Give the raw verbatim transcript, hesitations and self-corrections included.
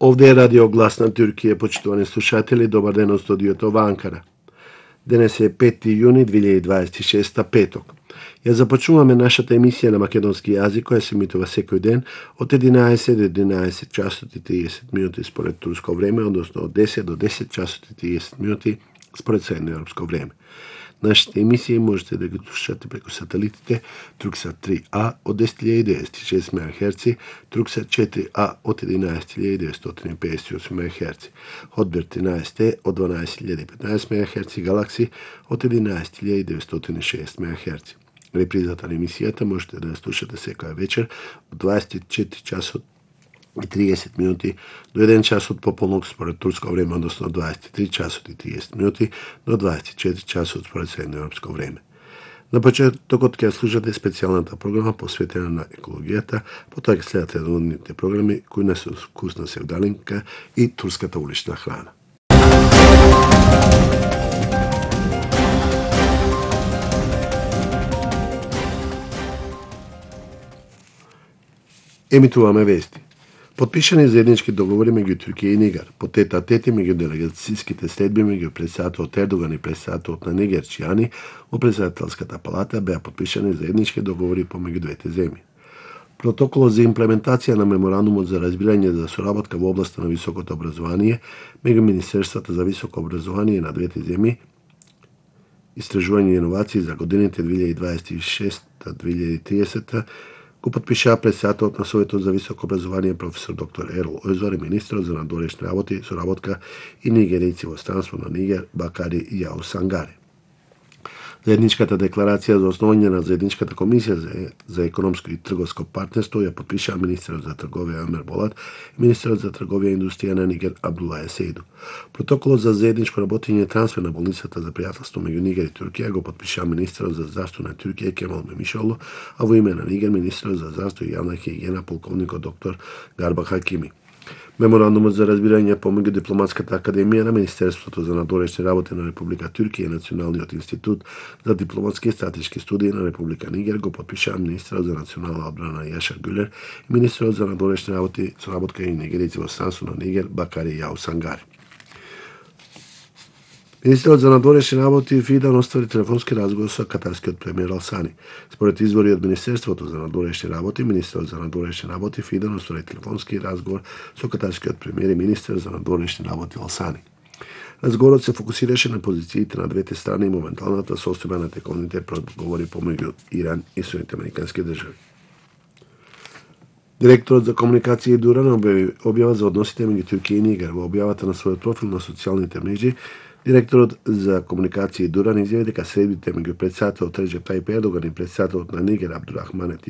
Овде е Радио Глас на Туркија, почитувани слушатели, добар ден од студиото во Анкара. Денес е пети јуни две илјади дваесет и шеста, петок. Ја започнуваме нашата емисија на македонски јазик, која се емитува секој ден од единаесет до единаесет часот и триесет минути според турско време, односно од десет до десет часот и триесет минути според средноевропско време. Нашите емисии можете да ги слушате преку сателитите Турксат три А од десет илјади деветстотини и шест мегахерци, Турксат четири А од единаесет илјади деветстотини и педесет и осум мегахерци, Хотбир тринаесет Е од дванаесет илјади и петнаесет мегахерци, Галакси од единаесет илјади деветстотини и шест мегахерци. Репризата на емисијата можете да ја слушате секоја вечер од дваесет и четири часот и триесет минути до еден часот пополнок според турско време, односно дваесет и три часот и триесет минути до дваесет и четири часот според средноевропско време. На почетокот ќе слушате специјалната програма посветена на екологијата, потоа ќе следат редовните програми кои не се вкусна севдалинка и турската улична храна. Емитуваме вести. Потпишани заеднички договори меѓу Туркија и Нигер, по тета тети меѓу делегацијските следби меѓу председателот Ердоган и председателот на Нигер Чијани во председателската палата беа потпишани заеднички договори помеѓу двете земји. Протоколот за имплементација на меморандумот за разбирање за соработка во областа на високото образование меѓу Министерствата за високо образование на двете земји, истражување и иновации за годините две илјади дваесет и шеста до две илјади и тридесета го потпишаа председателот на Советот за високо образование професор доктор Ерол Ојзор и министерот за надворешни работи, соработка и нигерици во странство на Нигер Бакари Јао Сангари. Заедничката декларација за основање на заедничката комисија за, за економско и трговско партнерство ја потпишаа министерот за трговија Омер Болат и министерот за трговија и индустрија на Нигер Абдулај Сейду. Протоколот за заедничко работење и трансфер на болницата за пријателство меѓу Нигер и Туркија го потпишаа министерот за здравство на Туркија Кемал Мемишоглу, а во име на Нигер министерот за здравство и јавна хигиена полковникот доктор Гарба Хакими. Меморандумот за разбирање помеѓу Дипломатската академија на Министерството за надворешни работи на Република Туркија и Националниот институт за дипломатски и стратешки студии на Република Нигер го потпишаа министерот за национална одбрана Јашар Гюлер и министерот за надворешни работи, соработка и нигерици во странство на Нигер Бакари Јао Сангари. Министерот за надворешни работи Фидан оствари телефонски разговор со катарскиот премиер Алсани. Според извори од Министерството за надворешни работи, министерот за надворешни работи Фидан оствари телефонски разговор со катарскиот премиер и министер за надворешни работи Алсани. Разговорот се фокусираше на позициите на двете страни и моменталната состојба на тековните преговори помеѓу Иран и Соединетите американски држави. Директорот за комуникација Дуран објави објава за односите меѓу Туркија и Нигер. Во објавата на својот профил на социјалните мрежи, директорот за комуникација Дуран изјави дека средбите меѓу председателот Реџеп Тајип Ердоган и председателот на Нигер Абдурахмане